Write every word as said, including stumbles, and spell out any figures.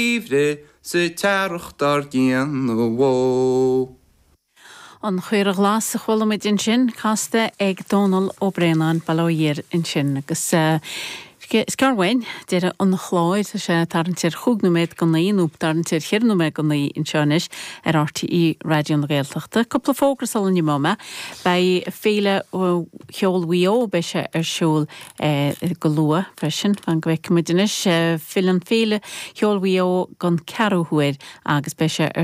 Gheimhreadh sa t-earrach dár gcionn ó. An Chaora Ghlas a chuala muid ansin casta ag Dónal Ó Braonáin Baile Átha ansin agus uh, Is gearr uainn deireadh an chláir tá sé tarraingt ar chúig nóiméad go naoi nó tarraingt ar cheithre nóiméad go naoi anseo anois ar RTÉ Raidió na Gaeltachta. Cúpla fógra sula n-imeoidh mé Beidh féile cheoil Mhaigh Eo beidh sé ar siúl eh, go luath freisin fan go bhfeicfidh muid anois eh, féile an féile cheoil Mhaigh Eo don ceathrú huair agus beidh sé ar